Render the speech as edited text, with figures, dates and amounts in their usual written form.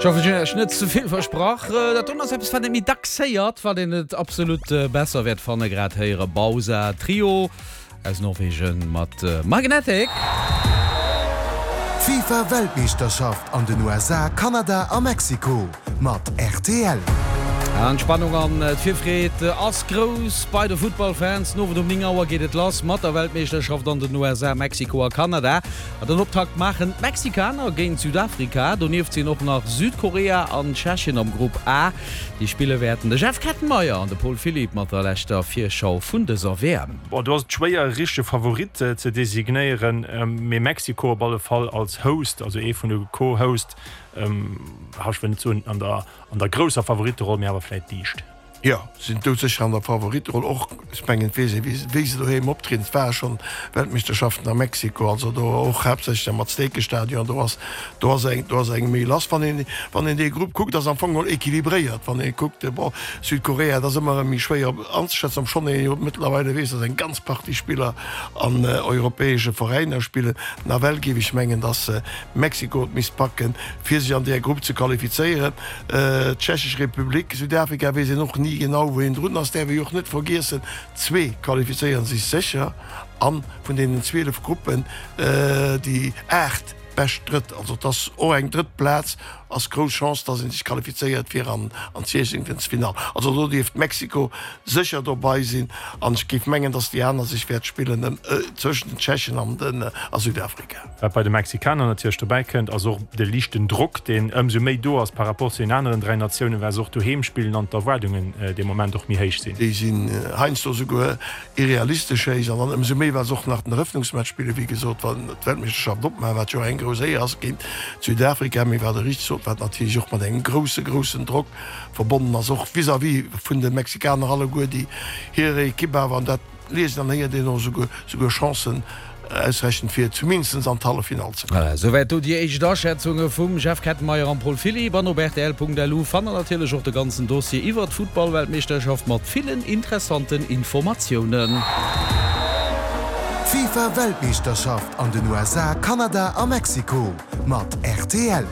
Ech hoffen, ech hunn Iech net ze vill versprach. Dat doen ass eppes, wat ee méi dacks héiert, wat een et absolut besser wäert fannen. Grad héiere Bausa Trio aus Norwegen mat Magnetic. D'FIFA Weltmeeschterschaft an den USA, Kanada a Mexiko mat rtl. An d'Spannung an d'Virfreed ass grouss bei de Futtballfans. Den Owend um 9 Auer geet et lass mat der Weltmeeschterschaft an den USA, Mexiko a Kanada. An den Optakt maachen d'Mexikaner géint Südafrika. Donieft sinn och nach Südkorea an Tschechien am Grupp A. Déi spille wäerten de Jeff Kettenmeyer an de Paul Philipp mat der leschter Virschau vun dëser WM. Bon, do ass et schwéier e richtege Favorit ze designéieren, mee Mexiko op alle Fall als Host, also ee vun de Co-Host, ech wëll net soen an der an der grousser Favoritteroll, mee awer vläit liicht. Jo, sinn doudsécher an der Favoritteroll och. Ech mengen, et weess ee wéi se doheem optrieden. Et ware schonn Weltmeeschterschaften a Mexiko, also do och haaptsächlech am Aztekestadion. Do ass do ass eng do ass eng méi lass. Wann een wann een dee Grupp kuckt, ass am Fong geholl equilibréiert. Wann ee kuckt, bon, Südkorea, dat ass ëmmer erëm méi schwéier anzeschätzen, obschonn ee jo mëttlerweile weess, datt eng ganz Partie Spiller an europäesche Veräiner spillen. Nawell géif ech mengen, datt Mexiko et misst packen, fir sech an där Grupp ze qualifizéieren. D'Tschechesch Republik, Südafrika weess een och ni genau wou een drun ass. Däerf ee jo och net vergiessen, zwee qualifizéiere sech sécher a vun deenen 12 Gruppen déi 8 bescht Drëtt. Also et ass och eng drëtt Plaz ass grouss Chance, datt ee sech qualifizéiert fir an d'Siechzehntelfinall. Also do dierft Mexiko sécher dobei sinn an ech géif mengen, datt déi aner sech wäert spillen zwëschen den Tschechen an den a Südafrika. Wat bei de Mexikaner natierlech dobäi kënnt, ass och de liichten Drock, deen ëmsou méi do ass par rapport zu den aneren 3 Natiounen, well se och doheem spillen an d'Erwaardungen dee Moment och méi héich sinn. Déi sinn heiansdo souguer irrealistesch héich an dann ëmsou méi, well se och nach den Erëffnungsmatch spillen, wéi gesot, wann d'Weltmeeschterschaft opmaachen, wat jo och eng grouss Éier ass géint Südafrika, mee wat Der richteg sot, wat natierlech och mat engem grousse, groussen Drock verbonnen ass, och vis-à-vis vun de Mexikaner alleguer, déi hir Ekipp awer, an dat Liest an héiert een och esouguer Chancen ausrechnen fir zumindest an d'Halleffinall ze kommen. Voilà, souwäit do déi éischt Aschätzunge vum Jeff Kettenmeyer an Paul Philipp. An op rtl.lu fannt der natierlech och de ganzen Dossier iwwert d'Futtballweltmeeschterschaft mat villen interessanten Informatiounen. D'FIFA Weltmeeschterschaft an den USA, Kanada a Mexiko mat rtl.